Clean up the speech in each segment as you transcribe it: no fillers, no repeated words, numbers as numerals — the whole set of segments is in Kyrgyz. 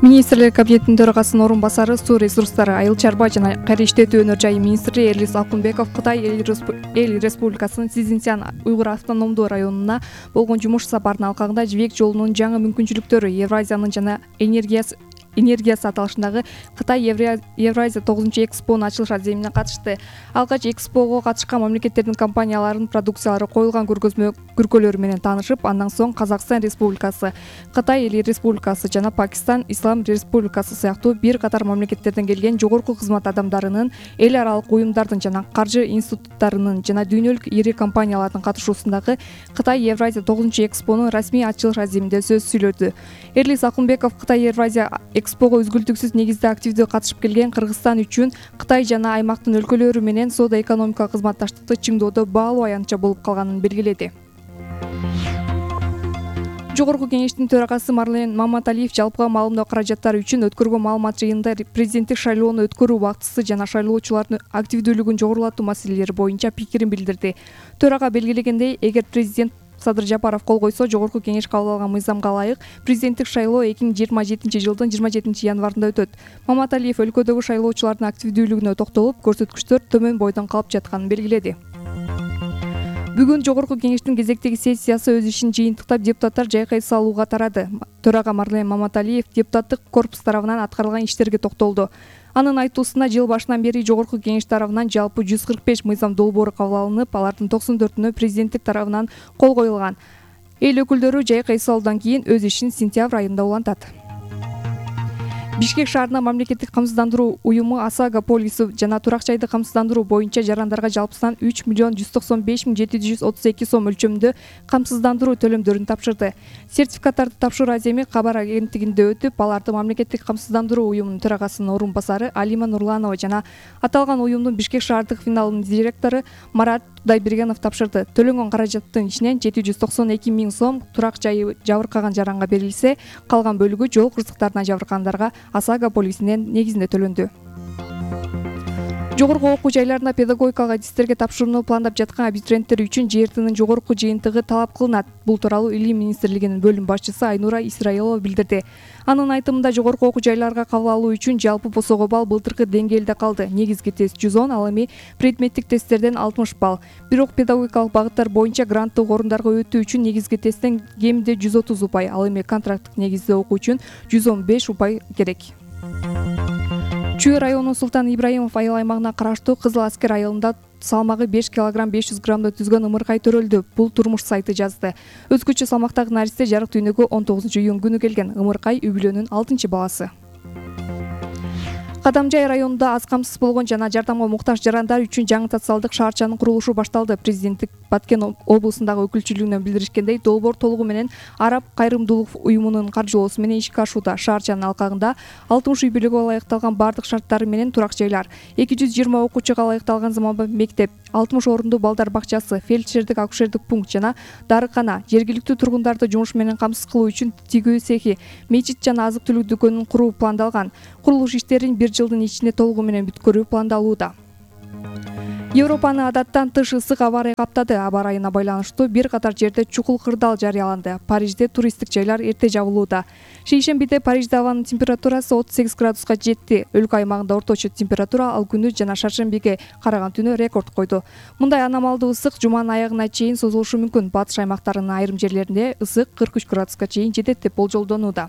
Министрлер кабинетинин төрагасынын орун басары, суу ресурстары, айыл чарба жана кайра иштетүү өнөр жайы министри Эрлис Акунбеков Кытай Эл Республикасынын Цзиньцзян уйгур автономдуу районуна болгон жумуш сапарынын алкагында жибек жолунун жаңы мүмкүнчүлүктөрү, Евразиянын жана энергиясы аталышындагы Кытай Евразия 9-экспонун ачылыш аземине катышты. Алгач экспого катышкан мамлекеттердин компанияларынын продукциялары коюлган көргөзмөлөрү менен таанышып, андан соң Казакстан Республикасы, Кытай Эл Республикасы жана Пакистан Ислам Республикасы сыяктуу бир катар мамлекеттерден келген жогорку кызмат адамдарынын, эл аралык уюмдардын жана каржы институттарынын жана дүйнөлүк ири компаниялардын катышуусундагы Кытай Евразия 9-экспонун расмий ачылыш аземинде сөз сүйлөдү. Эрлис Акунбеков Кытай Евразия экспого үзгүлтүксүз негизде активдүү катышып келген Кыргызстан үчүн Кытай жана аймактын өлкөлөрү менен соода-экономикалык кызматташтыкты чыңдоодо баалуу аянтча болуп калганын белгиледи. Жогорку кеңештин төрагасы Марлен Маматалиев жалпыга маалымдоо каражаттары үчүн өткөргөн маалымат жыйынында президенттик шайлоону өткөрүү убактысы жана шайлоочулардын активдүүлүгүн жогорулатуу маселелери боюнча пикирин билдирди. Төрага белгилегендей, эгер президент Садыр Жапаров кол койсо, жогорку кеңеш кабыл алган мыйзамга ылайык президенттик шайлоо 2027-жылдын 27-январында өтөт. Маматалиев өлкөдөгү шайлоочулардын активдүүлүгүнө токтолуп, көрсөткүчтөр төмөн бойдон калып жатканын белгиледи. Бүгүн жогорку кеңештин кезектеги сессиясы өз ишин жыйынтыктап, депутаттар жайкай салууга тарады. Төрага Марлен Маматалиев депутаттык корпус тарабынан аткарылган иштерге токтолду. Анын айтуусунда, жыл башынан бери жогорку кеңеш тарабынан жалпы 145 мыйзам долбоору кабыл алынып, алардын 94-үнө президенттик тарабынан кол коюлган. Эл өкүлдөрү жайкай салуудан кийин өз ишин сентябрь айында улантат. Бишкек шаарына мамлекеттик камсыздандыруу уюму ОСАГО полису жана турак жайды камсыздандыруу боюнча жарандарга жалпысынан 3 195 732 сом өлчөмүндө камсыздандыруу төлөмдөрүн тапшырды. Сертификаттарды тапшыруу аземи кабар агенттигинде өтүп, аларды мамлекеттик камсыздандыруу уюмунун төрагасынын орун басары Алима Нурланова жана аталган уюмдун Бишкек шаардык филиалынын директору Марат Кудайбергенов тапшырды. Төлөнгөн каражаттын ичинен 792 000 сом турак жайы жабыркаган жаранга берилсе, калган бөлүгү жол кырсыктарынан жабыркагандарга ОСАГО полисинин негизинде төлөндү. Жогорку окуу жайларында педагогикалык адистерге тапшырууну пландап жаткан абитуриенттер үчүн ЖРТнын жогорку жыйынтыгы талап кылынат. Бул тууралуу Илим министрлигинин бөлүм башчысы Айнура Исраилова билдирди. Анын айтымында, жогорку окуу жайларга кабыл алуу үчүн жалпы посого балл былтыркы деңгээлде калды. Негизги тест 110, ал эми предметтик тесттерден 60 балл. Бирок педагогикалык багыттар боюнча гранттык орундарга өтүү үчүн негизги тесттен кеминде 130 упай, ал эми контракттык негизде окуу үчүн 115 упай керек. Чүй районунун Султан Ибраимов айыл аймагына караштуу Кызыл Аскер айылында салмагы 5 кг 500 граммды түзгөн ымыркай төрөлдү. Бул турмуш сайты жазды. Өзгөчө салмактагы наристе жарык дүйнөгө 19-июнь күнү келген. Ымыркай үй бүлөнүн 6-баласы. Кадамжай районунда аз камсыз болгон жана жардамга муктаж жарандар үчүн жаңы социалдык шаарчанын курулушу башталды. Президенттик Баткен облусундагы өкүлчүлүгүнөн билдиришкендей, долбоор толугу менен Араб кайрымдуулук уюмунун каржылоосу менен ишке ашууда. Шаарчанын алкагында 60 үй бүлөгө ылайыкталган бардык шарттары менен турак жайлар, 220 окуучуга ылайыкталган заманбап мектеп, 60 орундуу балдар бакчасы, фельдшердик акушердик пункт жана дарыкана, жергиликтүү тургундарды жумуш менен камсыз кылуу үчүн тигүү цехи, мечит жана азык-түлүк дүкөнүн куруу пландалган. Курулуш иштерин 1 жылдын ичинде толугу менен бүткөрүү пландалууда. Европаны адаттан тыш ысык аба ырайы каптады. Аба ырайына байланыштуу бир катар жерде чукул кырдаал жарыяланды. Парижде туристтик жайлар эрте жабылууда. Шейшембиде Парижде абанын температурасы 38 градуска жетти. Өлкө аймагында орточо температура ал күнү жана шаршембиге караган түнү рекорд койду. Мындай аномалдуу ысык жуманын аягына чейин созулушу мүмкүн. Батыш аймактарынын айрым жерлеринде ысык 43 градуска чейин жетет деп болжолдонууда.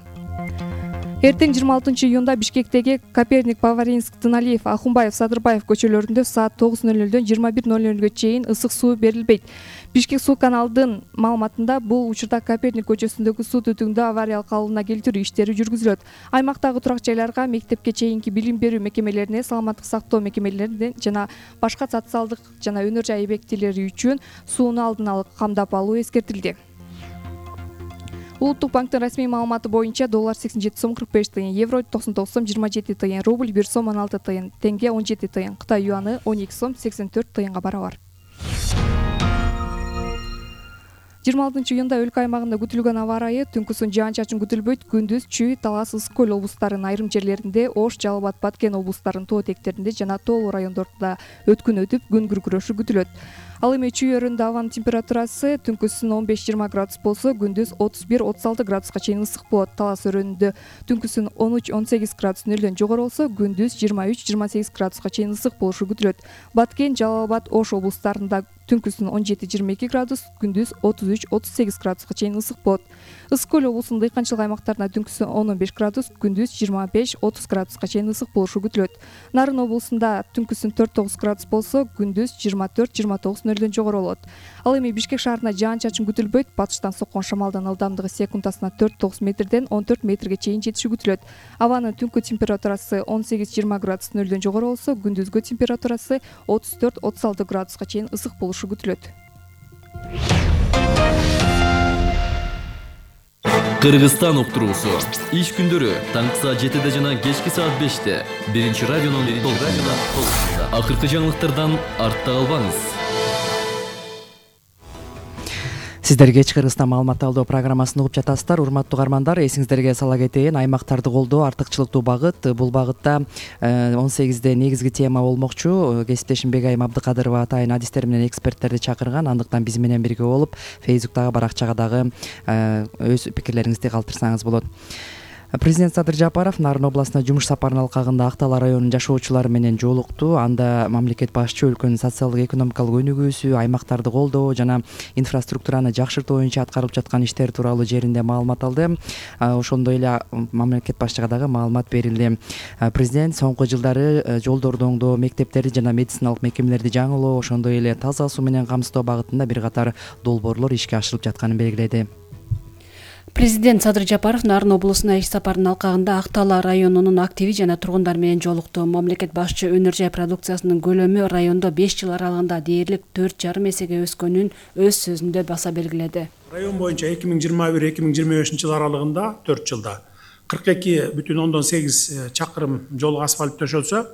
Эртең 26-июнда Бишкектеги Коперник, Поваринск, Тыналиев, Ахунбаев, Садырбаев көчөлөрүндө саат 9:00дөн 21:00 чейин ысык суу берилбейт. Бишкек суу каналдын маалыматында бул учурда Коперник көчөсүндөгү суу түтүңдү авариялык калыбына келтирүү иштери жүргүзүлөт. Аймактагы турак жайларга, мектепке чейинки билим берүү мекемелерине, саламаттык сактоо мекемелерине жана башка социалдык жана өнөр жай объектилери үчүн сууну алдын ала камдап алуу эскертилди. Улуттук банктын расмий маалыматы боюнча доллар 87 сом 45 тыйын, евро 99 сом 27 тыйын, рубль 1 сом 16 тыйын, тенге 17 тыйын, Кытай юаны 12 сом 84 тыйынга барабар. 26-июнда өлкө аймагында күтүлгөн аба ырайы: түнкүсүн жаан-чачын күтүлбөйт, күндүз Чүй, Талас, Ысык көл облустарынын айрым жерлеринде, Ош, Жалал Абад, Баткен облустарынын тоо этектеринде жана тоолуу райондордо өткүн өтүп, күн күркүрөшү күтүлөт. Ал эми чүйөрүндө абанын температурасы түнкүсүн 15-20 градус болсо, күндүз 31-36 градуска чейин ысык болот. Талас өрөөнүндө түнкүсүн 13-18 градус нөлдөн жогору болсо, күндүз 23-28 градуска чейин ысык болушу күтүлөт. Баткен, Жалал Абад, Ош облустарында түнкүсүн 17-22 градус, күндүз 33-38 градуска чейин ысык болот. Ысык көл облусунун дыйканчылык аймактарында түнкүсүн 10-15 градус, күндүз 25-30 градуска чейин ысык болушу күтүлөт. Нарын облусунда түнкүсүн 4-9 градус болсо, күндүз 24-29 нөлдөн жогору болот. Ал эми Бишкек шаарында жаан-чачын күтүлбөйт. Батыштан соккон шамалдын ылдамдыгы секундасына 4-9 метрден 14 метрге чейин жетиши күтүлөт. Абанын түнкү температурасы 18-20 градус нөлдөн жогору болсо, күндүзгү температурасы 34-36 градуска чейин ысык болушу күтүлөт. Кыргызстан уктуруусу иш күндөрү таңкы саат 7-де жана кечки саат 5-те биринчи радионун толкунунда. Акыркы жаңылыктардан артта калбаңыз. Сиздер кеч Кыргызстан маалымат алуу программасын угуп жатасыздар. Урматтуу угармандар, эсиңиздерге сала кетейин, аймактарды колдоо артыкчылыктуу багыт. Бул багытта 18-де негизги тема болмокчу. Кесиптешим Бегайым Абдыкадырова атайын адистер менен эксперттерди чакырган. Андыктан биз менен бирге болуп, Фейсбуктагы баракчага дагы өз пикирлериңизди калтырсаңыз болот. Президент Садыр Жапаров Нарын областына жумуш сапарынын алкагында Актала районунун жашоочулары менен жолукту. Анда мамлекет башчы өлкөнүн социалдык экономикалык өнүгүүсү, аймактарды колдоо жана инфраструктураны жакшыртуу боюнча аткарылып жаткан иштер тууралуу жеринде маалымат алды. Ошондой эле мамлекет башчыга дагы маалымат берилди. Президент соңку жылдары жолдорду оңдоо, мектептерди жана медициналык мекемелерди жаңылоо, ошондой эле таза суу менен камсыздоо багытында бир катар долбоорлор ишке ашырылып жатканын белгиледи. Президент Садыр Жапаров Нарын облусуна иш сапарынын алкагында Актала районунун активи жана тургундар менен жолукту. Мамлекет башчы өнөр жай продукциясынын көлөмү райондо 5 жыл аралыгында дээрлик 4,5 эсеге өскөнүн өз сөзүндө баса белгиледи. Район боюнча 2021-2025 жыл аралыгында 4 жылда 42,8 чакырым жол асфальт төшөлсө,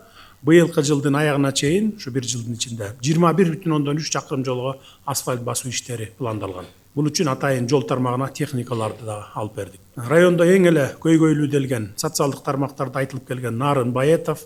быйылкы жылдын аягына чейин, ушу бир жылдын ичинде 21,3 чакырым жолго асфальт басуу иштери пландалган. Бул үчүн атайын жол тармагына техникаларды да алып бердик. Райондо эң эле көйгөйлүү делген социалдык тармактарда айтылып келген Нарын Баетов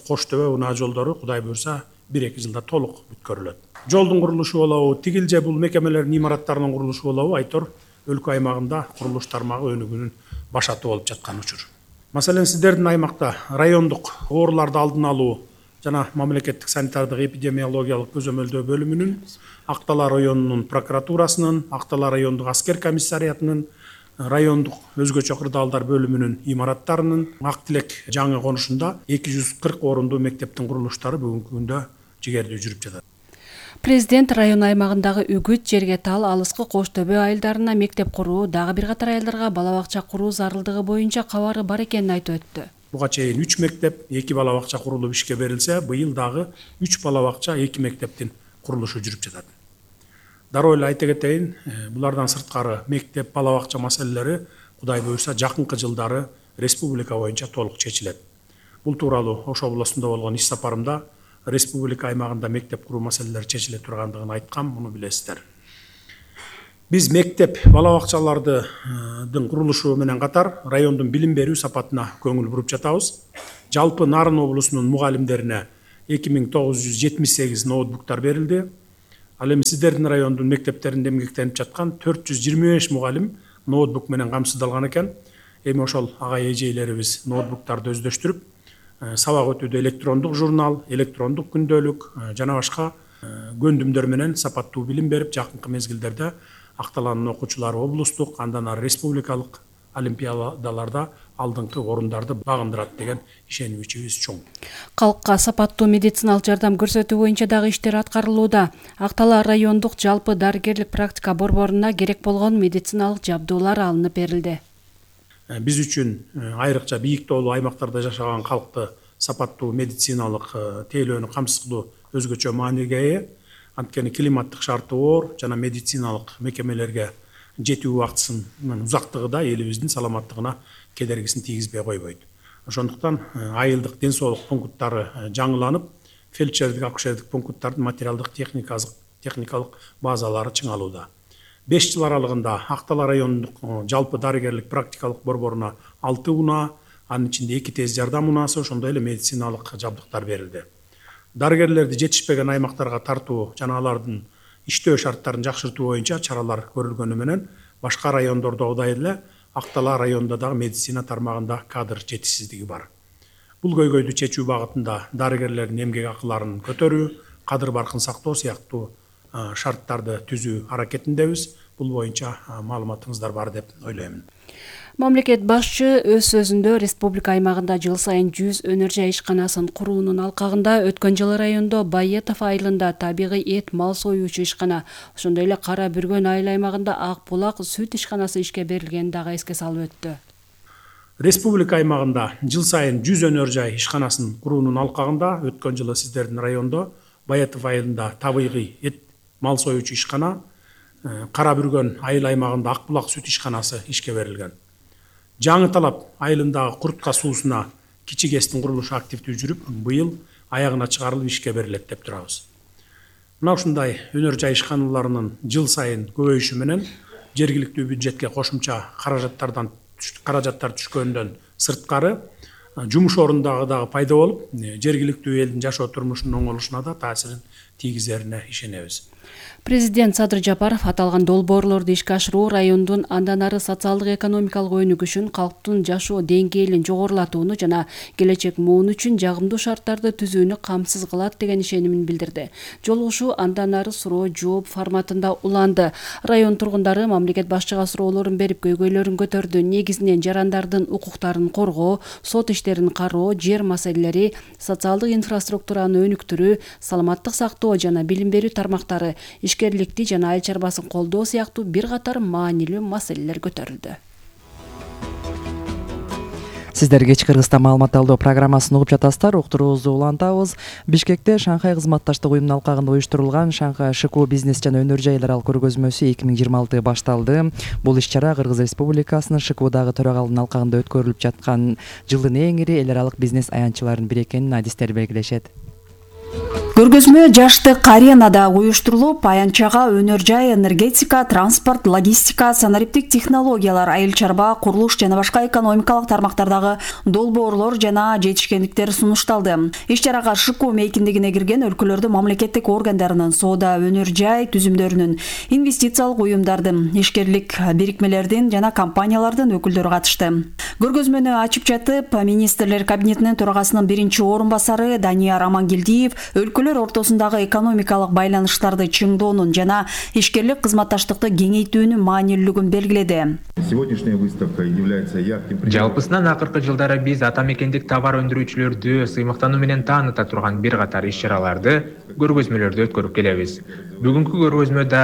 Коштөбө унаа жолдору Кудай буйрса 1-2 жылда толук бүткөрүлөт. Жолдун курулушу болобу, тигил же бул мекемелердин имараттарынын курулушу болобу, айтор өлкө аймагында курулуш тармагы өнүгүүнүн башаты болуп жаткан учур. Маселен, сиздердин аймакта райондук ооруларды алдын алуу жана мамлекеттик санитардык эпидемиологиялык көзөмөлдөө бөлүмүнүн, Актала районунун прокуратурасынын, Актала райондук аскер комиссариятынын, райондук өзгөчө кырдаалдар бөлүмүнүн имараттарынын Ак Тилек жаңы конушунда 240 орундуу мектептин курулуштары бүгүнкү күндө жигердүү жүрүп жатат. Президент район аймагындагы Үгүт, Жерге Тал, Алыскы, Коштөбө айылдарына мектеп куруу, дагы бир катар айылдарга бала бакча куруу зарылдыгы боюнча кабары бар экенин айтып өттү. Буга чейин 3 мектеп, 2 бала бакча курулуп ишке берилсе, быйыл дагы 3 бала бакча, 2 мектептин курулушу жүрүп жатат. Дароо эле айта кетейин, булардан сырткары мектеп, бала бакча маселелери Кудай буйрса жакынкы жылдары республика боюнча толук чечилет. Бул тууралуу Ош областында болгон иш сапарымда республика аймагында мектеп куруу маселелери чечиле тургандыгын айткам, муну билесиздер. Биз мектеп, бала бакчалардын курулушу менен катар райондун билим берүү сапатына көңүл буруп жатабыз. Жалпы Нарын облусунун мугалимдерине 2978 ноутбуктар берилди. Ал эми сиздердин райондун мектептеринде эмгектенип жаткан 425 мугалим ноутбук менен камсыздалган экен. Эми ошол агай эжейлерибиз ноутбуктарды өздөштүрүп, сабак өтүүдө электрондук журнал, электрондук күндөлүк жана башка көндүмдөр менен сапаттуу билим берип, жакынкы мезгилдерде Акталанын окуучулары облустук, андан ары республикалык олимпиадаларда алдыңкы орундарды багындырат деген ишенимибиз чоң. Калкка сапаттуу медициналык жардам көрсөтүү боюнча дагы иштер аткарылууда. Актала райондук жалпы дарыгерлик практика борборуна керек болгон медициналык жабдуулар алынып берилди. Биз үчүн айрыкча бийик тоолуу аймактарда жашаган калкты сапаттуу медициналык тейлөөнү камсыздоо өзгөчө мааниге ээ. Анткени климаттык шарты оор жана медициналык мекемелерге жетүү убактысынын узактыгы да элибиздин саламаттыгына кедергисин тийгизбей койбойт. Ошондуктан айылдык ден соолук пункттары жаңыланып, фельдшердик, акушердик пункттардын материалдык техникалык базалары чыңалууда. 5 жыл аралыгында Актала районундук жалпы дарыгерлик практикалык борборуна 6 унаа, анын ичинде 2 тез жардам унаасы, ошондой эле медициналык жабдыктар берилди. Дарыгерлерди жетишпеген аймактарга тартуу жана алардын иштөө шарттарын жакшыртуу боюнча чаралар көрүлгөнү менен башка райондордогудай эле Ак-Талаа районунда дагы медицина тармагында кадр жетишсиздиги бар. Бул көйгөйдү чечүү багытында дарыгерлердин эмгек акыларын көтөрүү, кадыр баркын сактоо сыяктуу шарттарды түзүү аракетиндебиз. Бул боюнча маалыматыңыздар бар деп ойлоймун. Мамлекет башчы өз сөзүндө республика аймагында жыл сайын 100 өнөр жай ишканасын куруунун алкагында өткөн жылы райондо Байетов айылында табигый эт мал союучу ишкана, ошондой эле Кара Бүргөн айыл аймагында Ак Булак сүт ишканасы ишке берилгенин дагы эске салып өттү. Республика аймагында жыл сайын 100 өнөр жай ишканасын куруунун алкагында өткөн жылы сиздердин райондо Байетов айылында табигый эт мал союучу ишкана, Кара Бүргөн айыл аймагында Ак Булак сүт ишканасы ишке берилген. Жаңы Талап айылындагы Куртка суусуна кичи КЭСтин курулушу активдүү жүрүп, быйыл аягына чыгарылып ишке берилет деп турабыз. Мына ушундай өнөр жай ишканаларынын жыл сайын көбөйүшү менен жергиликтүү бюджетке кошумча каражаттар түшкөндөн сырткары жумуш орундары дагы пайда болуп, жергиликтүү элдин жашоо турмушунун оңолушуна да таасирин тийгизерине ишенебиз. Президент Садыр Жапаров аталган долбоорлорду ишке ашыруу райондун андан ары социалдык экономикалык өнүгүшүн, калктын жашоо деңгээлин жогорулатууну жана келечек муун үчүн жагымдуу шарттарды түзүүнү камсыз кылат деген ишенимин билдирди. Жолугушуу андан ары суроо жооп форматында уланды. Район тургундары мамлекет башчыга суроолорун берип көйгөйлөрүн көтөрдү. Негизинен жарандардын укуктарын коргоо, сот иштерин кароо, жер маселелери, социалдык инфраструктураны өнүктүрүү, саламаттык сактоо жана билим берүү тармактары, ишкерликти жана айыл чарбасын колдоо сыяктуу бир катар маанилүү маселелер көтөрүлдү. Сиздер кечки Кыргызстан маалымат алуу программасын угуп жатасыздар. Уктуруубузду улантабыз. Бишкекте Шанхай кызматташтык уюмунун алкагында уюштурулган Шанхай ШКУ бизнес жана өнөр жайлар көргөзмөсү 2026 башталды. Бул иш-чара Кыргыз Республикасынын ШКУдагы төрагалыгынын алкагында өткөрүлүп жаткан жылдын эң ири эл аралык бизнес аянтчыларынын бири экенин адистер белгилешет. Көргөзмө жаштык аренада уюштурулуп, аянтчага өнөр жай, энергетика, транспорт, логистика, санариптик технологиялар, айыл чарба, курулуш жана башка экономикалык тармактардагы долбоорлор жана жетишкендиктер сунушталды. Иш-чарага ШКУ мейкиндигине кирген өлкөлөрдүн мамлекеттик органдарынын, соода, өнөр жай түзүмдөрүнүн, инвестициялык уюмдардын, ишкерлик бирикмелердин жана компаниялардын өкүлдөрү катышты. Көргөзмөнү ачып жатып, министрлер кабинетинин төрагасынын биринчи орун басары Данияр Амангелдиев өлкөлөр ортосундагы экономикалык байланыштарды чыңдоонун жана ишкерлик кызматташтыкты кеңейтүүнүн маанилүүлүгүн белгиледи. Сегодняшняя выставка является ярким примером. Жалпысынан акыркы жылдары биз ата мекендик товар өндүрүүчүлөрдү сыймыктануу менен тааныта турган бир катар иш-чараларды, көргөзмөлөрдү өткөрүп келебиз. Бүгүнкү көргөзмөдө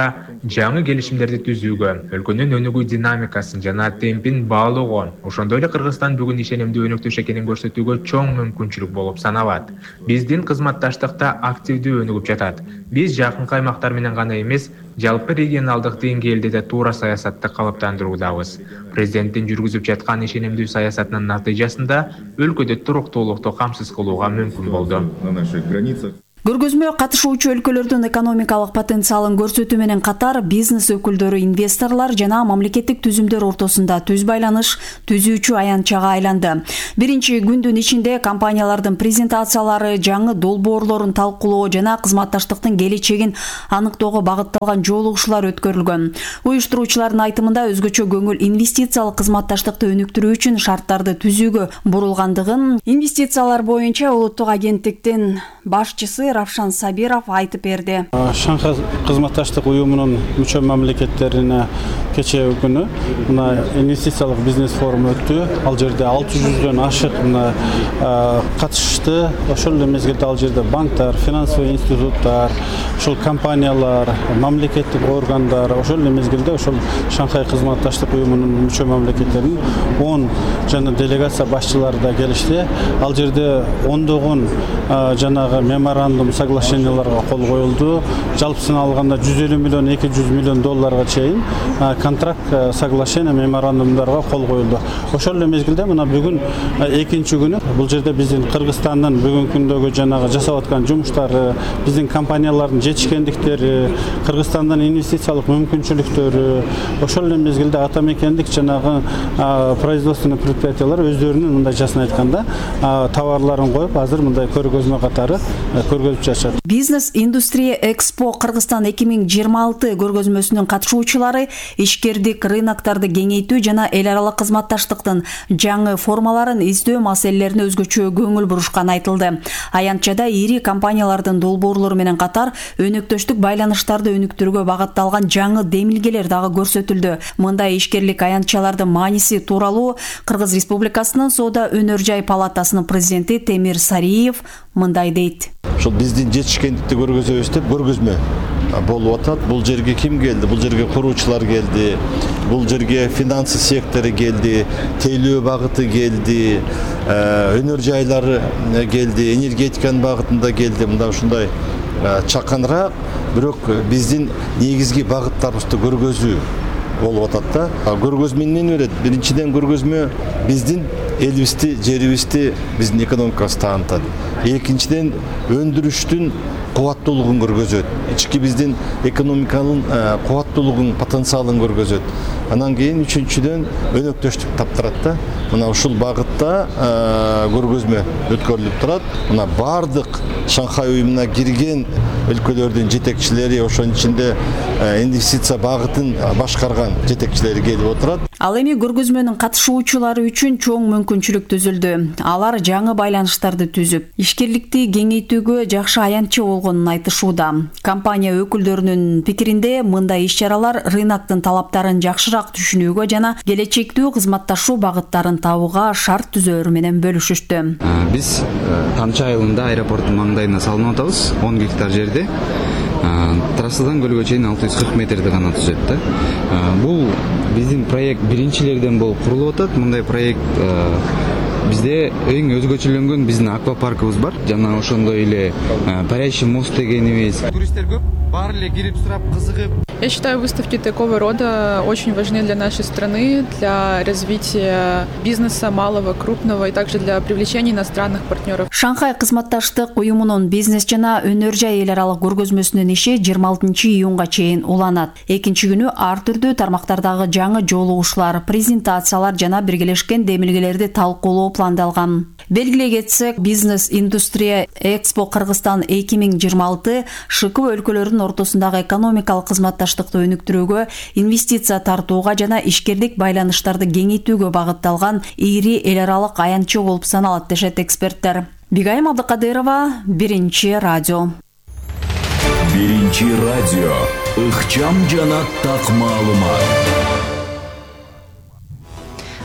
жаңы келишимдерди түзүүгө, өлкөнүн өнүгүү динамикасын жана темпин баалоого, ошондой эле Кыргызстан бүгүн ишенимдүү өнөктөш экенин көрсөтүүгө чоң мүмкүнчүлүк болуп саналат. Биздин кызматташтыкта активдүү өнүгүп жатат. Биз жакынкы аймактар менен гана эмес, жалпы регионалдык деңгээлде да туура саясатты калыптандыруудабыз. Президенттин жүргүзүп жаткан ишенимдүү саясатынын натыйжасында өлкөдө туруктуулукту камсыз кылууга мүмкүн болду. На наших границах. Көргөзмө катышуучу өлкөлөрдүн экономикалык потенциалын көрсөтүү менен катар бизнес өкүлдөрү, инвесторлор жана мамлекеттик түзүмдөр ортосунда түз байланыш түзүүчү аянтчага айланды. Биринчи күндүн ичинде компаниялардын презентациялары, жаңы долбоорлорун талкуулоо жана кызматташтыктын келечегин аныктоого багытталган жолугушуулар өткөрүлгөн. Уюштуруучулардын айтымында өзгөчө көңүл инвестициялык кызматташтыкты өнүктүрүү үчүн шарттарды түзүүгө бурулгандыгын инвестициялар боюнча улуттук агенттиктин башчысы Равшан Сабиров айтып берди. Шанхай кызматташтык уюмунун мүчө мамлекеттерине кечээ күнү инвестициялык бизнес форуму өттү. Ал жерде 600дөн ашык катышты. Ошол эле мезгилде ал жерде банктар, финансовый институттар, ошол компаниялар, мамлекеттик органдар, ошол эле мезгилде ошол Шанхай кызматташтык уюмунун мүчө мамлекеттеринин 10 жана делегация башчылары да келишти. Ал жерде ондогон жанагы меморандум соглашенияларга кол коюлду. Жалпысына алганда 150 миллион, 200 миллион долларга чейин контракт соглашение меморандумдарга кол коюлду. Ошол эле мезгилде мына бүгүн экинчи күнү бул жерде биздин Кыргызстандын бүгүнкү күндөгү жанагы жасап аткан жумуштары, биздин компаниялардын жетишкендиктери, Кыргызстандын инвестициялык мүмкүнчүлүктөрү, ошол эле мезгилде ата мекендик жанагы производственный предприятиялар өздөрүнүн мындай жасын айтканда товарларын коюп, азыр мындай көргөзмө катары көргөзүп жатышат. Бизнес Индустрия Экспо Кыргызстан 2026 көргөзмөсүнүн катышуучулары ишкердик рыноктарды кеңейтүү жана эл аралык кызматташтыктын жаңы формаларын издөө маселелерине өзгөчө көңүл бурушканы айтылды. Аянтчада ири компаниялардын долбоорлору менен катар өнөктөштүк байланыштарды өнүктүрүүгө багытталган жаңы демилгелер дагы көрсөтүлдү. Мындай ишкерлик аянтчалардын мааниси тууралуу Кыргыз Республикасынын Соода өнөр жай палатасынын президенти Темир Сариев мындай дейт. Ошол биздин жетишкендикти көргөзөбүз деп көргөзмө болуп атат. Бул жерге ким келди? Бул жерге куруучулар келди. Бул жерге финансы сектору келди, тейлөө багыты келди, өнөр жайлары келди, энергетиканын багытында келди. Мында ушундай чаканыраак, бирок биздин негизги багыттарыбызды көргөзүү болуп атат да. Көргөзмө эмнени берет? Биринчиден көргөзмө биздин элибизди, жерибизди, биздин экономикабызды таанытат. Экинчиден өндүрүштүн кубаттуулугун көргөзөт. Ички биздин экономиканын кубаттуулугун, потенциалын көргөзөт. Анан кийин үчүнчүдөн өнөктөштүк таптырат да. Мына ушул багытта көргөзмө өткөрүлүп турат. Мына бардык Шанхай уюмуна кирген өлкөлөрдүн жетекчилери, ошонун ичинде инвестиция багытын башкарган жетекчилери келип отурат. Ал эми көргөзмөнүн катышуучулары үчүн чоң мүмкүнчүлүк түзүлдү. Алар жаңы байланыштарды түзүп, ишкерликти кеңейтүүгө жакшы аянтчы болгонун айтышууда. Компания өкүлдөрүнүн пикиринде мындай иш-чаралар рыноктун талаптарын жакшыраак түшүнүүгө жана келечектүү кызматташуу багыттарын табууга шарт түзөөрү менен бөлүшүштү. Биз Тамчы айылында аэропорттун маңдайына салынып атабыз, 10 гектар жерде. Трассадан көлгө чейин 640 метрди гана түзөт да. Бул биздин проект биринчилерден болуп курулуп атат. Мындай проект бизде эң өзгөчөлөнгөн биздин аквапаркыбыз бар. Жана ошондой эле парящий мост дегенибиз. Туристтер көп, баары эле кирип сурап, кызыгып. Я считаю, выставки такого рода очень важны для нашей страны, для развития бизнеса малого, крупного и также для привлечения иностранных партнеров. Шанхай кызматташтык уюмунун бизнес жана өнөр жай эл аралык көргөзмөсүнүн иши 26-июнга чейин уланат. Экинчи күнү ар түрдүү тармактардагы жаңы жолугушуулар, презентациялар жана биргелешкен демилгелерди талкуулоо пландалган. Белгилей кетсек, Бизнес Индустрия Экспо Кыргызстан 2026 ШК өлкөлөрүнүн ортосундагы экономикалык кызматташтыкты өнүктүрүүгө, инвестиция тартууга жана ишкерлик байланыштарды кеңейтүүгө багытталган ири эл аралык аянтчы болуп саналат дешет эксперттер. Бигайым Абдыкадырова, Биринчи радио. Биринчи радио. Ыкчам жана так маалымат.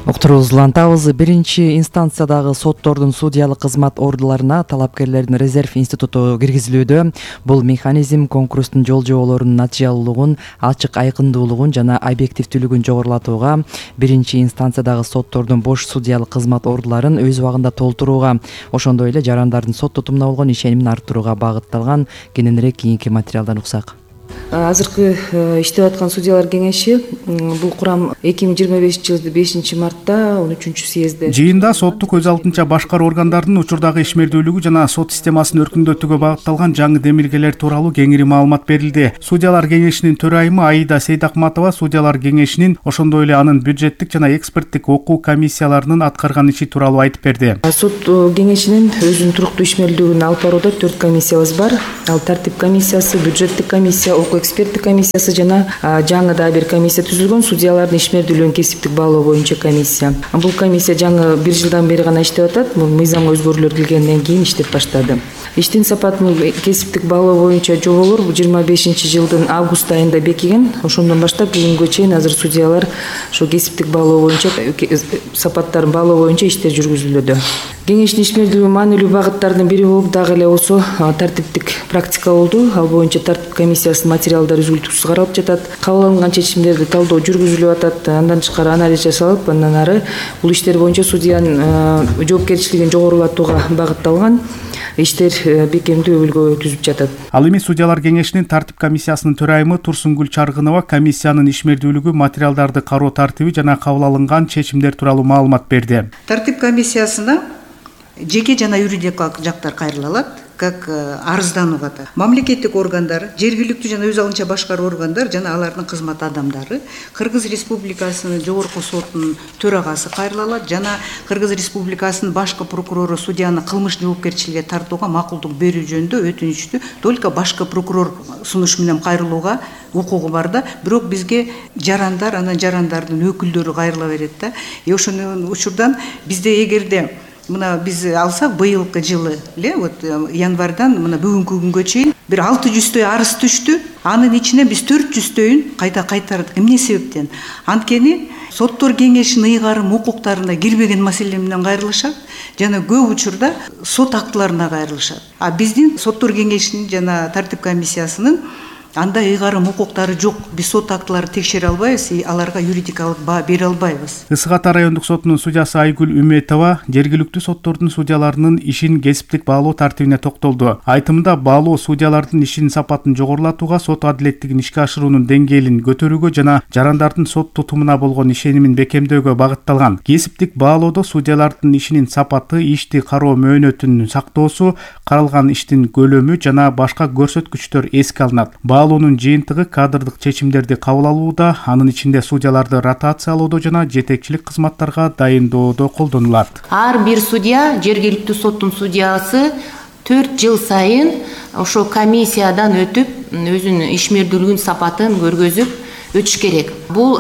Уктуруубузду улантабыз. Биринчи инстанциядагы соттордун судьялык кызмат ордуларына талапкерлердин резерв институту киргизилүүдө. Бул механизм конкурстун жол жоболорунун натыйжалуулугун, ачык айкындуулугун жана объективдүүлүгүн жогорулатууга, биринчи инстанциядагы соттордун бош судьялык кызмат ордуларын өз убагында толтурууга, ошондой эле жарандардын сот тутумуна болгон ишенимин арттырууга багытталган. Кененирээк кийинки материалдан уксак. Азыркы иштеп аткан судьялар кеңеши бул курам 2025-жылы 5-мартта 13-съездде жыйында соттук өз алдынча башкаруу органдарынын учурдагы ишмердүүлүгү жана сот системасын өркүндөтүүгө багытталган жаңы демилгелер тууралуу кеңири маалымат берилди. Судьялар кеңешинин төрайымы Аида Сейдакматова судьялар кеңешинин, ошондой эле анын бюджеттик жана эксперттик окуу комиссияларынын аткарган иши тууралуу айтып берди. Сот кеңешинин өзүнүн туруктуу ишмердүүлүгүн алып барууда 4 комиссиябыз бар. Ал тартип комиссиясы, бюджеттик комиссия, окуу эксперттик комиссиясы жана жаңы да бир комиссия түзүлгөн, судьялардын ишмердүүлүгүн кесиптик баалоо боюнча комиссия. Бул комиссия жаңы 1 жылдан бери гана иштеп атат. Мыйзамга өзгөрүүлөр киргенден кийин иштеп баштады. Иштин сапатын кесиптик баалоо боюнча жоболор 25-жылдын август айында бекиген. Ошондон баштап бүгүнгө чейин азыр судьялар ошо кесиптик баалоо боюнча сапаттарын баалоо боюнча иштер жүргүзүлүүдө. Кеңештин ишмердүүлүгү маанилүү багыттардын бири болуп, дагы эле болсо тартиптик практика болду. Ал боюнча тартип комиссиясынын материалдары үзүлтүксүз каралып жатат. Кабыл алынган чечимдерди талдоо жүргүзүлүп атат. Андан тышкары анализ жасалып, андан ары бул иштер боюнча судьянын жоопкерчилигин жогорулатууга багытталган. иштер бекемдүү өбүлгө түзүп жатат. Ал эми судьялар кеңешинин тартип комиссиясынын төрайымы Турсунгүл Чаргынова комиссиянын ишмердүүлүгү, материалдарды кароо тартиби жана кабыл алынган чечимдер тууралуу маалымат берди. Тартип комиссиясына жеке жана юридикалык жактар кайрылалат, как арызданууга да. Мамлекеттик органдар, жергиликтүү жана өз алынча башкаруу органдар жана алардын кызмат адамдары, Кыргыз Республикасынын жогорку сотунун төрагасы кайрылалат жана Кыргыз Республикасынын башкы прокурору судьяны кылмыш жоопкерчиликке тартууга макулдук берүү жөнүндө өтүнүчтү только башкы прокурор сунуш менен кайрылууга укугу бар да, бирок бизге жарандар, анан жарандардын өкүлдөрү кайрыла берет да. Ошонун учурдан бизде эгерде мына биз алсак быйылкы жылы вот январдан мына бүгүнкү күнгө чейин бир 600 арыз түштү. Анын ичинен биз 400 кайта кайтардык. Эмне себептен? Анткени соттор кеңешинин ыйгарым укуктарына кирбеген маселе менен кайрылышат жана көп учурда сот актыларына кайрылышат. А биздин соттор кеңешинин жана тартип комиссиясынын андай ыйгарым укуктары жок. Биз сот актыларын текшере албайбыз, аларга юридикалык баа бере албайбыз. Ысык Ата райондук сотунун судьясы Айгүл Үметова жергиликтүү соттордун судьяларынын ишин кесиптик баалоо тартибине токтолду. Айтымында баалоо судьялардын ишинин сапатын жогорулатууга, сот адилеттигин ишке ашыруунун деңгээлин көтөрүүгө жана жарандардын сот тутумуна болгон ишенимин бекемдөөгө багытталган. Кесиптик баалоодо судьялардын ишинин сапаты, ишти кароо мөөнөтүн сактоосу, каралган иштин көлөмү жана башка көрсөткүчтөр эске алынат. Баалоонун жыйынтыгы кадрдык чечимдерди кабыл алууда, анын ичинде судьяларды ротациялоодо жана жетекчилик кызматтарга дайындоодо колдонулат. Ар бир судья, жергиликтүү соттун судьясы 4 жыл сайын ошо комиссиядан өтүп, өзүнүн ишмердүүлүгүнүн сапатын көргөзүп өтүш керек. Бул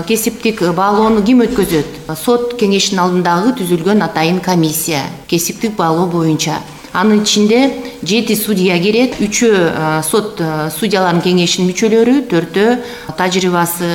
кесиптик баалоону ким өткөзөт? Сот кеңешинин алдындагы түзүлгөн атайын комиссия, кесиптик баалоо боюнча. Анын ичинде 7 судья кирет, 3 сот судьяларынын кеңешинин мүчөлөрү, 4 тажрыйбасы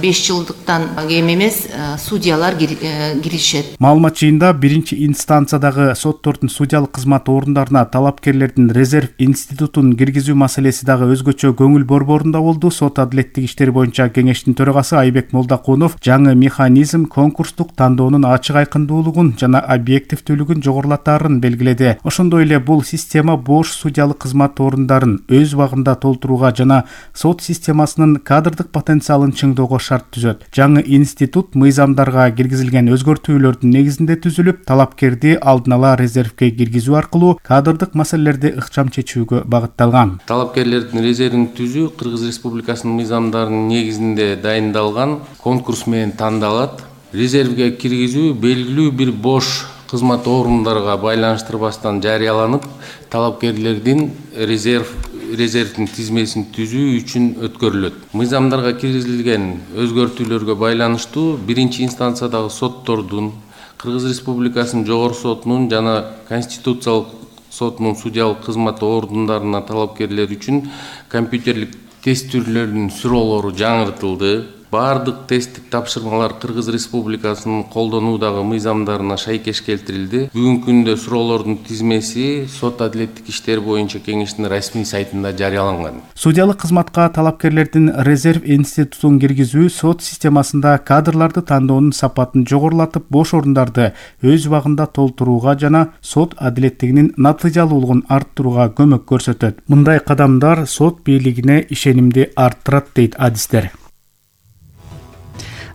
5 жылдыктан кем эмес судьялар киришет. Маалымат жыйында биринчи инстанциядагы соттордун судьялык кызмат орундарына талапкерлердин резерв институтун киргизүү маселеси дагы өзгөчө көңүл борборунда болду. Сот адилеттик иштери боюнча кеңештин төрагасы Айбек Молдакунов жаңы механизм конкурстук тандоонун ачык айкындуулугун жана объективдүүлүгүн жогорулатаарын белгиледи. Ошондой эле бул система бош судьялык кызмат орундарын өз убагында толтурууга жана сот системасынын кадрдык потенциалын чыңдоого шарт түзөт. Жаңы институт мыйзамдарга киргизилген өзгөртүүлөрдүн негизинде түзүлүп, талапкерди алдын ала резервге киргизүү аркылуу кадрдык маселелерди ыкчам чечүүгө багытталган. Талапкерлердин резервин түзүү Кыргыз Республикасынын мыйзамдарынын негизинде дайындалган конкурс менен тандалат. Резервге киргизүү белгилүү бир бош кызмат орундарга байланыштырбастан жарыяланып, талапкерлердин резервдин тизмесин түзүү үчүн өткөрүлөт. Мыйзамдарга киргизилген өзгөртүүлөргө байланыштуу биринчи инстанциядагы соттордун, Кыргыз Республикасынын жогорку сотунун жана Конституциялык сотунун судьялык кызмат орундарына талапкерлер үчүн компьютерлик тест түрлөрүнүн суроолору жаңыртылды. Бардык тесттик тапшырмалар Кыргыз Республикасынын колдонуудагы мыйзамдарына шайкеш келтирилди. Бүгүнкү күндө суроолордун тизмеси сот адилеттик иштер боюнча кеңештин расмий сайтында жарыяланган. Судьялык кызматка талапкерлердин резерв институтун киргизүү сот системасында кадрларды тандоонун сапатын жогорулатып, бош орундарды өз убагында толтурууга жана сот адилеттигинин натыйжалуулугун арттырууга көмөк көрсөтөт. Мындай кадамдар сот бийлигине ишенимди арттырат дейт адистер.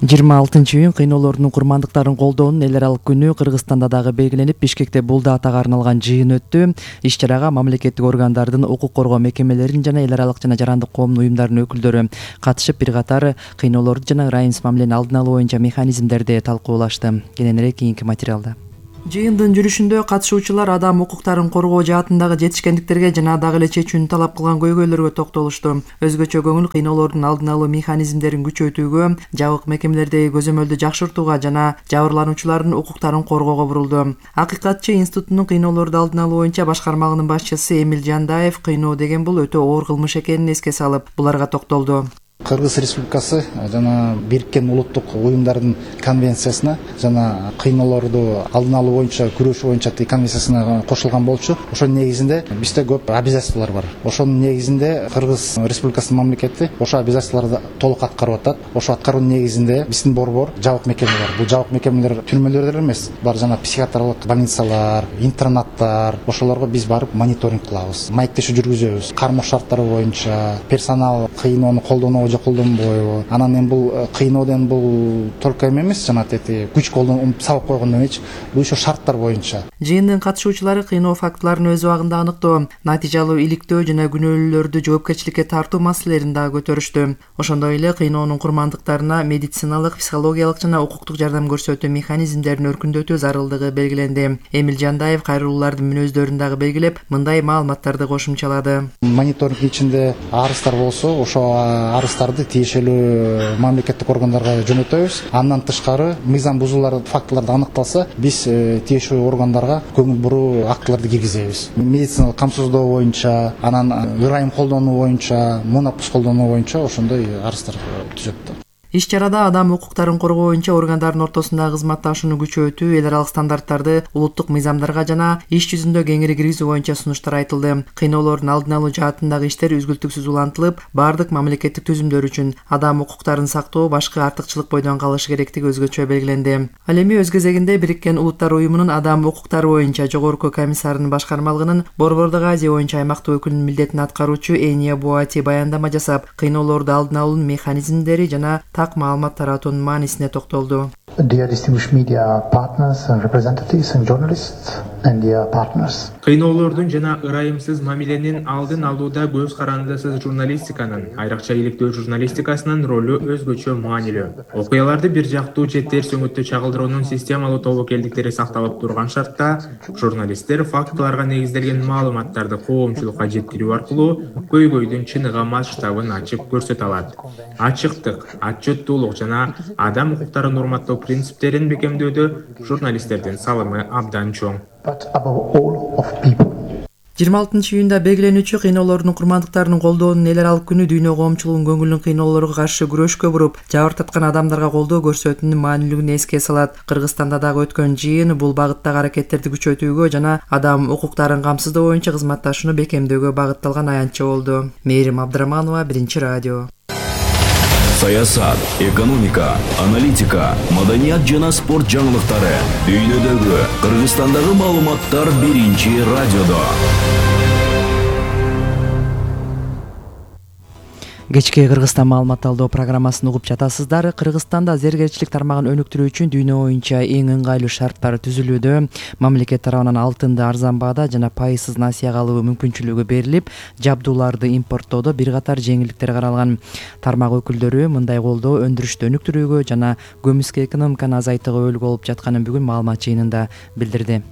26-июнь кыйноолордун курмандыктарын колдоонун эл аралык күнү Кыргызстанда дагы белгиленип, Бишкекте бул датага арналган жыйын өттү. Иш-чарага мамлекеттик органдардын, укук коргоо мекемелеринин жана эл аралык жана жарандык коомдун уюмдарынын өкүлдөрү катышып, бир катар кыйноолорду жана ырайымсыз мамилени алдын алуу боюнча механизмдерди талкуулашты. Кененирээк кийинки материалда. Жыйындын жүрүшүндө катышуучулар адам укуктарын коргоо жаатындагы жетишкендиктерге жана дагы эле чечүүнү талап кылган көйгөйлөргө токтолушту. Өзгөчө көңүл кыйноолордун алдын алуу механизмдерин күчөйтүүгө, жабык мекемелердеги көзөмөлдү жакшыртууга жана жабырлануучулардын укуктарын коргоого бурулду. Акыйкатчы институтунун кыйноолорду алдын алуу боюнча башкармагынын башчысы Эмил Жандаев кыйноо деген бул өтө оор кылмыш экенин эске салып, буларга токтолду. Кыргыз Республикасы жана Бириккен Улуттук Уюмдардын конвенциясына жана кыйноолорду алдын алуу боюнча күрөшүү боюнча конвенциясына кошулган болчу. Ошонун негизинде бизде көп обязательстволор бар. Ошонун негизинде Кыргыз Республикасынын мамлекети ошо обязательстволорду толук аткарып атат. Ошо аткаруунун негизинде биздин борбор жабык мекемелер. Бул жабык мекемелер түрмөлөрдөр эмес, бар жана психиатрлык больницалар, интернаттар. Ошолорго биз барып мониторинг кылабыз. Маектешүү жүргүзөбүз. Кармоо шарттары боюнча персонал кыйноону колдонобу же колдонбойбу. Анан эми бул кыйноодон бул только эмес, жана күч колдонуп сабап койгондон эч бул ошо шарттар боюнча. Жыйындын катышуучулары кыйноо фактыларын өз убагында аныктоо, натыйжалуу иликтөө жана күнөөлүүлөрдү жоопкерчиликке тартуу маселелерин дагы көтөрүштү. Ошондой эле кыйноонун курмандыктарына медициналык, психологиялык жана укуктук жардам көрсөтүү механизмдерин өркүндөтүү зарылдыгы белгиленди. Эмил Жандаев кайрылуулардын мүнөздөрүн дагы белгилеп, мындай маалыматтарды кошумчалады. Мониторинг ичинде арыздар болсо, ошо арыздарды тиешелүү мамлекеттик органдарга жөнөтөбүз. Андан тышкары мыйзам бузуулар фактыларды аныкталса, биз тиешелүү органдарга көңүл буруу актыларды киргизебиз. Медициналык камсыздоо боюнча, анан ырайым колдонуу боюнча, монопус колдонуу боюнча ошондой арыздар түзөт. Иш-чарада адам укуктарын коргоо боюнча органдардын ортосундагы кызматташууну күчөтүү, эл аралык стандарттарды улуттук мыйзамдарга жана иш жүзүндө кеңири киргизүү боюнча сунуштар айтылды. Кыйноолордун алдын алуу жаатындагы иштер үзгүлтүксүз улантылып, бардык мамлекеттик түзүмдөр үчүн адам укуктарын сактоо башкы артыкчылык бойдон калышы керектиги өзгөчө белгиленди. Ал эми өз кезегинде Бириккен Улуттар Уюмунун адам укуктары боюнча жогорку комиссарынын башкармалыгынын Борбордук Азия боюнча аймактык өкүлүнүн милдетин аткаруучу Эния Буати баяндама жасап, кыйноолорду алдын алуунун механизмдери жана так маалымат таратуунун маанисине токтолду. Dear distinguished media partners and representatives and journalists and their partners. Кыйноолордун жана ырайымсыз мамиленин алдын алууда көз карандысыз журналистиканын, айрыкча иликтөө журналистикасынын ролу өзгөчө маанилүү. Окуяларды бир жактуу же терс өңүттө чагылдыруунун системалуу тобокелдиктери сакталып турган шартта, журналисттер фактыларга негизделген маалыматтарды коомчулукка жеткирүү аркылуу көйгөйдүн чыныгы масштабын ачып көрсөтө алат. Ачыктык, отчеттуулук жана адам укуктарын урматтоо принциптерин бекемдөөдө журналисттердин салымы абдан чоң. 26-июнда белгиленүүчү кыйноолордун курмандыктарынын колдоонун эл аралык күнү дүйнө коомчулугунун көңүлүн кыйноолорго каршы күрөшкө буруп, жабыр тарткан адамдарга колдоо көрсөтүүнүн маанилүүлүгүн эске салат. Кыргызстанда дагы өткөн жыйын бул багыттагы аракеттерди күчөтүүгө жана адам укуктарын камсыздоо боюнча кызматташууну бекемдөөгө багытталган аянтча болду. Мээрим Абдыраманова, Биринчи радио. Саясат, экономика, аналитика, маданият жана спорт жаңылыктары. Дүйнөдөгү, Кыргызстандагы маалыматтар Биринчи радиодо. Кечки Кыргызстан маалымат алдоо программасын угуп жатасыздар. Кыргызстанда зергерчилик тармагын өнүктүрүү үчүн дүйнө боюнча эң ыңгайлуу шарттар түзүлүүдө. Мамлекет тарабынан алтынды арзан баада жана пайызсыз насыяга алуу мүмкүнчүлүгү берилип, жабдууларды импорттоодо бир катар жеңилдиктер каралган. Тармак өкүлдөрү мындай колдоо өндүрүштү өнүктүрүүгө жана көмүскө экономиканы азайтууга өлгү болуп жатканын бүгүн маалымат жыйынында билдирди.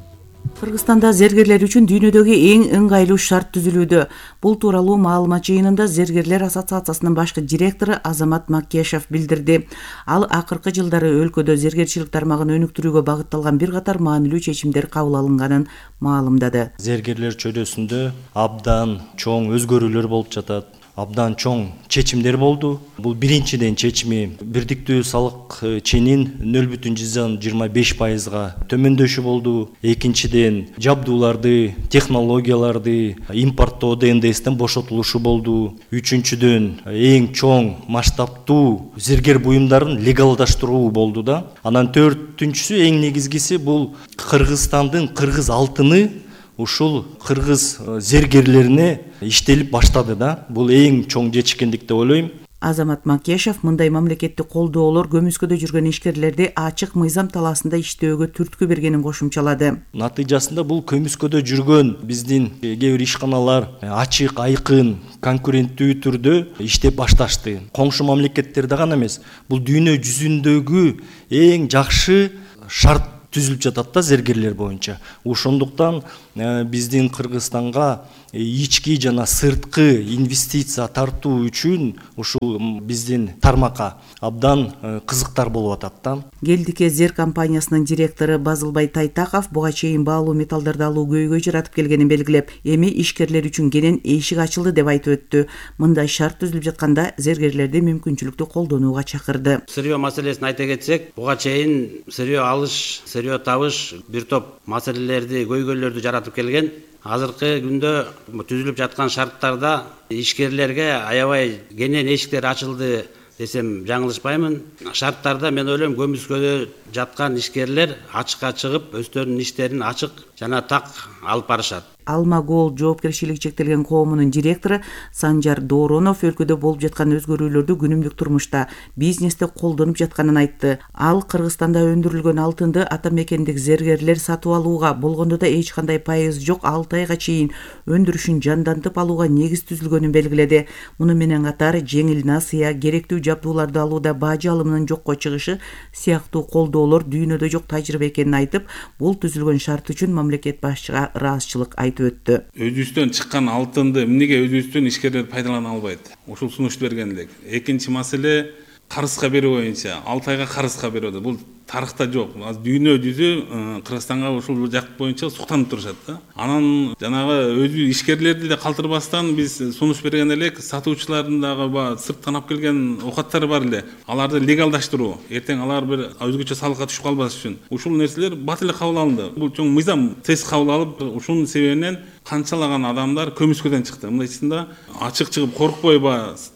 Кыргызстанда зергерлер үчүн дүйнөдөгү эң ыңгайлуу шарт түзүлүүдө. Бул тууралуу маалымат жыйынында Зергерлер ассоциациясынын башкы директору Азамат Макешев билдирди. Ал акыркы жылдары өлкөдө зергерчилик тармагын өнүктүрүүгө багытталган бир катар маанилүү чечимдер кабыл алынганын маалымдады. Зергерлер чөйрөсүндө абдан чоң өзгөрүүлөр болуп жатат. Абдан чоң чечимдер болду. Бул биринчиден чечими бирдиктүү салык ченин 0,25%га төмөндөшү болду. Экинчиден жабдууларды, технологияларды импорттоодо НДСтен бошотулушу болду. Үчүнчүдөн эң чоң масштабтуу зергер буюмдарын легалдаштыруу болду да. Анан төртүнчүсү эң негизгиси бул Кыргызстандын кыргыз алтыны ушул кыргыз зергерлерине иштелип баштады да. Бул эң чоң жетишкендик деп ойлойм. Азамат Макешев мындай мамлекеттик колдоолор көмүскөдө жүргөн ишкерлерди ачык мыйзам талаасында иштөөгө түрткү бергенин кошумчалады. Натыйжасында бул көмүскөдө жүргөн биздин кээ бир ишканалар ачык, айкын, конкуренттүү түрдө иштеп башташты. Коңшу мамлекеттерде гана эмес, бул дүйнө жүзүндөгү эң жакшы шарт түзүлүп жатат да зергерлер боюнча. Ошондуктан биздин Кыргызстанга ички жана сырткы инвестиция тартуу үчүн ушул биздин тармакка абдан кызыктар болуп атат да. Келдике Зер компаниясынын директору Базылбай Тайтаков буга чейин баалуу металлдарды алуу көйгөй жаратып келгенин белгилеп, эми ишкерлер үчүн кенен эшик ачылды деп айтып өттү. Мындай шарт түзүлүп жатканда зергерлерди мүмкүнчүлүктү колдонууга чакырды. Сырьё маселесин айта кетсек, буга чейин сырьё алыш, сырьё табыш бир топ маселелерди, көйгөйлөрдү жаратып келген. Азыркы күндө түзүлүп жаткан шарттарда ишкерлерге аябай кенен эшиктер ачылды десем жаңылышпаймын. Шарттарда мен ойлойм көмүскөдө жаткан ишкерлер ачыкка чыгып, өздөрүнүн иштерин ачык жана так алып барышат. Алма Голд жоопкерчилиги чектелген коомунун директору Санжар Дооронов өлкөдө болуп жаткан өзгөрүүлөрдү күнүмдүк турмушта, бизнесте колдонуп жатканын айтты. Ал Кыргызстанда өндүрүлгөн алтынды ата мекендик зергерлер сатып алууга, болгондо да эч кандай пайыз жок 6 айга чейин өндүрүшүн жандантып алууга негиз түзүлгөнүн белгиледи. Муну менен катар жеңил насыя, керектүү жабдууларды алууда бажы алымынын жокко чыгышы сыяктуу колдоолор дүйнөдө жок тажрыйба экенин айтып, бул түзүлгөн шарт үчүн мамлекет башчыга ыраазычылык айтып өттү. Өзүбүздөн чыккан алтынды эмнеге өзүбүздөн ишкерлер пайдалана албайт? Ушул сунушту берген элек. Экинчи маселе карызга берүү боюнча 6 айга карызга берүүдө. Бул тарыхта жок. Дүйнө жүзү Кыргызстанга ушул жак боюнча суктанып турушат да. Анан жанагы өзү ишкерлерди да калтырбастан биз сунуш берген элек, сатуучулардын дагы сырттан алып келген оокаттары бар эле. Аларды легалдаштыруу. Эртең алар бир өзгөчө салыкка түшүп калбаш үчүн. Ушул нерселер бат эле кабыл алынды. Бул чоң мыйзам тез кабыл алып, ушунун себебинен канчалаган адамдар көмүскөдөн чыкты. Мындайчысында ачык чыгып коркпой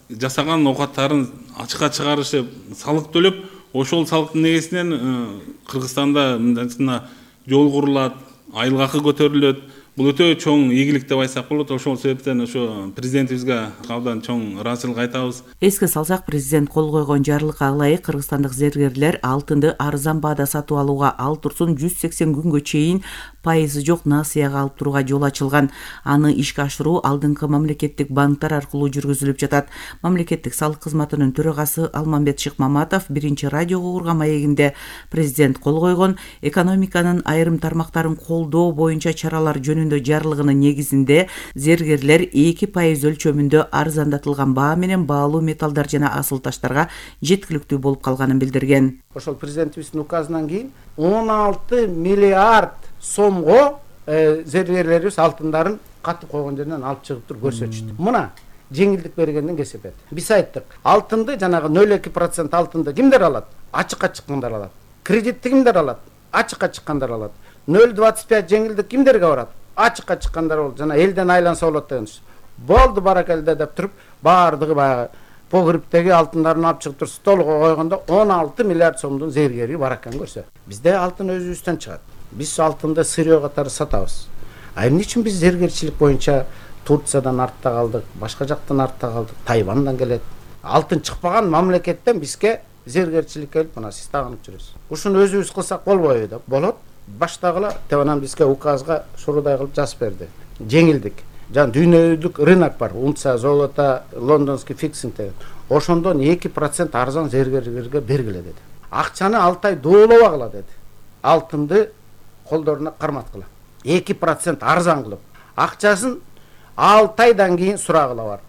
жасаган оокаттарын ачыкка чыгарышып, салык төлөп, ошол салыктын негизинен Кыргызстанда мындайчысында жол курулат, айыл акы көтөрүлөт. Бул өтө чоң ийгилик деп айтсак болот. Ошол себептен ошо президентибизге абдан чоң ыраазычылык айтабыз. Эске салсак, президент кол койгон жарлыкка ылайык кыргызстандык зергерлер алтынды арзан баада сатып алууга, ал турсун 180 күнгө чейин пайызы жок насыяга алып турууга жол ачылган. Аны ишке ашыруу алдыңкы мамлекеттик банктар аркылуу жүргүзүлүп жатат. Мамлекеттик салык кызматынын төрагасы Алмамбет Шыкмаматов биринчи радиого урган маегинде президент кол койгон экономиканын айрым тармактарын колдоо боюнча чаралар жөнүндө жарлыгынын негизинде зергерлер 2% өлчөмүндө арзандатылган баа менен баалуу металлдар жана асыл таштарга жеткиликтүү болуп калганын билдирген. Ошол президентибиздин указынан кийин 16 миллиард сомго зергерлерибиз алтындарын катып койгон жерден алып чыгып туруп көрсөтүштү. Мына жеңилдик бергенден кесепет. Биз айттык, алтынды жанагы 0,2% алтынды кимдер алат? Ачыкка чыккандар алат. Кредитти кимдер алат? Ачыкка чыккандар алат. 0,25 жеңилдик кимдерге барат? Ачыкка чыккандар болот. Жана элден айланса болот деген. Болду баракелде деп туруп, баардыгы баягы погребтеги алтындарын алып чыгып туруп столго койгондо 16 миллиард сомдун зергери бар экенин көрсөт. Бизде алтын өзүбүздөн чыгат. Биз алтынды сырьё катары сатабыз. А эмне үчүн биз зергерчилик боюнча Турциядан артта калдык, башка жактан артта калдык, Тайвандан келет. Алтын чыкпаган мамлекеттен бизге зергерчилик келип, мына сиз тагынып жүрөсүз. Ушуну өзүбүз кылсак болбойбу деп. Болот. Баштагыла Теванан бизге указга шурудай кылып жазып берди. Жеңилдик. Жан дүйнөлүк рынок бар. Унция золото, лондонский фиксинг деген. Ошондон 2% арзан зергерлерге бергиле деди. Акчаны 6 ай доолобагыла деди. Алтынды колдоруна карматкыла. 2% арзан кылып. Акчасын 6 айдан кийин сурагыла бар.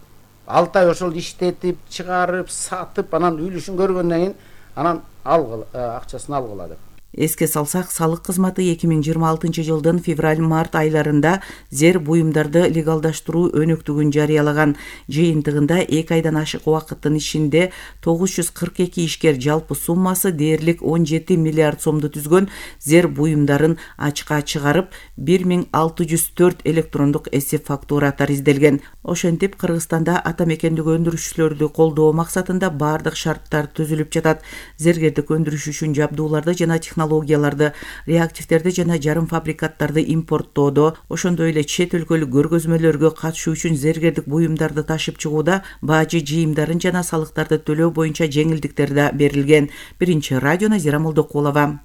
6 ай ошол иштетип, чыгарып, сатып, анан үлүшүн көргөндөн кийин анан акчасын алгыла деп. Эске салсак, салык кызматы 2026 жылдын февраль-март айларында зер буюмдарды легалдаштыруу өнөктүгүн жарыялаган. Жыйынтыгында 2 айдан ашык убакыттын ичинде 942 ишкер жалпы суммасы дээрлик 17 миллиард сомду түзгөн зер буюмдарын ачыкка чыгарып, 1604 электрондук эсеп фактураттар изделген. Ошентип, Кыргызстанда ата мекендик өндүрүшчүлөрдү колдоо максатында бардык шарттар түзүлүп жатат. Зергердик өндүрүш үчүн жабдууларды жана технологияларды, реактивдерди жана жарым фабрикаттарды импорттоодо, ошондой эле чет өлкөлүк көргөзмөлөргө катышуу үчүн зергердик буюмдарды ташып чыгууда бажы жыйымдарын жана салыктарды төлөө боюнча жеңилдиктер да берилген. Биринчи радио Назира Молдокулова.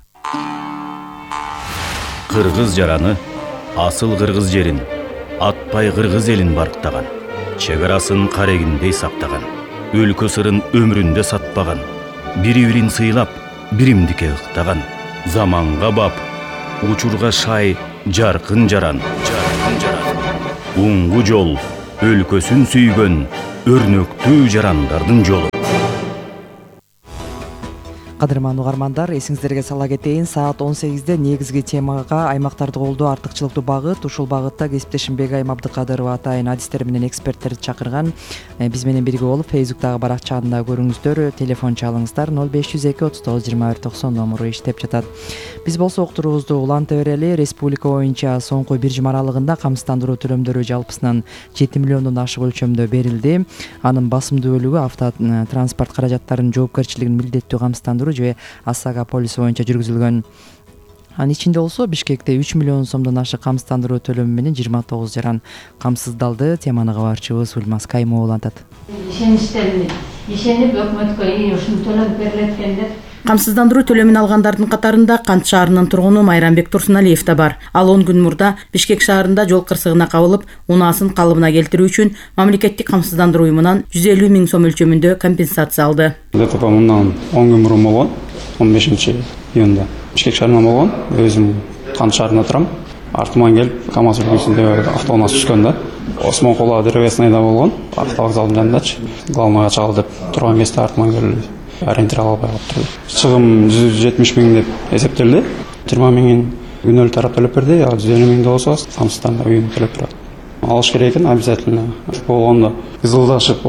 Кыргыз жараны, асыл кыргыз жерин, атпай кыргыз элин барктаган, чек арасын карегиндей сактаган, өлкө сырын өмүрүндө сатпаган, бири-бирин сыйлап, биримдикке ыктаган, заманга бап, учурга шай жаркын жаран. Уңгу жол, өлкөсүн сүйгөн өрнөктүү жарандардын жолу. Кадырман угармандар, эсиңиздерге сала кетейин, саат 18-де негизги темага аймактарды колдоо артыкчылыктуу багыт. Ушул багытта кесиптешим Бегайым Абдыкадырова атайын адистер менен эксперттерди чакырган. Биз менен бирге болуп, Фейсбуктагы баракчасында көрүңүздөр, телефон чалыңыздар, 0502 39 21 90 номуру иштеп жатат. Биз болсо уктуруубузду уланта берели. Республика боюнча соңку бир жума аралыгында камсыздандыруу төлөмдөрү жалпысынан 7 миллиондон ашык өлчөмдө берилди. Анын басымдуу бөлүгү автотранспорт каражаттарынын жоопкерчилигин милдеттүү камсыздандыруу же ОСАГО полиси боюнча жүргүзүлгөн. Анын ичинде болсо Бишкекте 3 миллион сомдон ашык камсыздандыруу төлөмү менен 29 жаран камсыздалды. Теманы кабарчыбыз Ульмаз Кайымова улантат. Ишенип өкмөткө ушуну төлөп берилет экен деп. Камсыздандыруу төлөмүн алгандардын катарында Кант шаарынын тургуну Майрамбек Турсуналиев да бар. Ал 10 күн мурда Бишкек шаарында жол кырсыгына кабылып, унаасын калыбына келтирүү үчүн мамлекеттик камсыздандыруу уюмунан 150 миң сом өлчөмүндө компенсация алды. ДТП мындан 10 күн мурун болгон, 15-июнда. Бишкек шаарынан болгон. Өзүм Кант шаарында турам. Артыман келип, КамАЗ үлгүсүндө автоунаа түшкөн да. Осмон Кола древесныйда болгон. Автовокзалдын жанындачы. Главныйга чагыл деп турган кезде артыман келип ориентир ала албай калыптыр. Чыгым 170 миң деп эсептелди. 20 миңин күнөлүк тарап төлөп берди. 150 миңди болсо камсыздандыруу уюму төлөп берет. Алыш керек экен обязательно. Болгондо кызылдашып